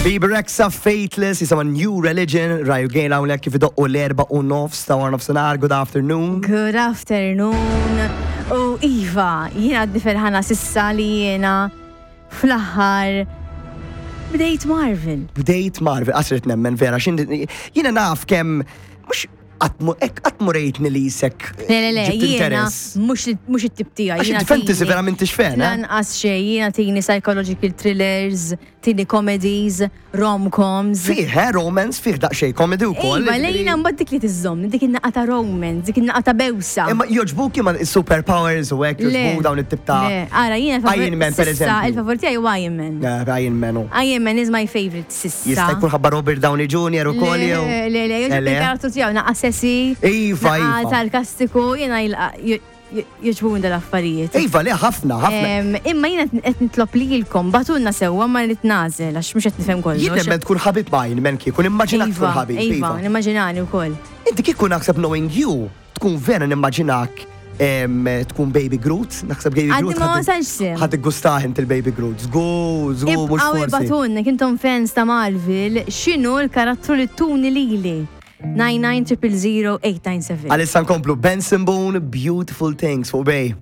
Bebe Rexha Faithless, jisimha New Religion, Raju Gejl hawnhekk kif idoqqu l-4:30 ta' wara nofsinhar. Good afternoon. Good afternoon. U Iva, jiena għadni ferħana sissa li jiena fl-aħħar bdejt Marvel. Bdejt Marvel, qasret nemmen vera, xin jiena naf kemm mhux qatt mu rejtni li jisek. Le, le, le, jiena mhux it-tip tiegħi. Għax inti fantasy vera m'intix fan, eh? Lanqas xejn, jiena tini psychological thrillers, tini comedies, rom-coms. Fih, eh, romance, fih daqsxejn comedy wkoll. Iva, lejna mbagħad dik li tiżżomm, dik in-naqa ta' romance, dik in-naqa ta' bewsa. Imma jogħġbuk imma super powers u hekk jogħġbuk dawn it-tip ta' Le, ara jiena Iron Man per eżempju. Il-favur tiegħi huwa Iron Man. Iron Man hu. Iron Man is my favorite sissa. Jista' jkun ħabba Robert Downey Jr. ukoll jew. Le, le, le, jogħġobni il-karattru tiegħu naqa' sessi. Iva, iva. Sarkastiku, jiena jogħġbuni dal-affarijiet. Iva, le, ħafna, ħafna. Imma jiena qed nitlob lilkom, bagħtulna sewwa ma rrid nagħżel għax mhux qed nifhem kollox. Jien nemmen tkun ħabib ma' Iron Man kieku, nimmaġinak tkun ħabib. Iva, nimmaġinani wkoll. Inti kieku naħseb knowing you, tkun vera nimmaġinak tkun Baby Groot, naħseb Baby Groot. Għadni ma wasalx sim. Ħad gustah inti l-Baby Groot. Żgur, żgur, mhux forsi. Ibgħatulna, intom fans ta' Marvel, x'inhu l-karattru li tuni lili? 99 000 897. Għalissa nkomplu Benson Boone, Beautiful Things fuq Bay.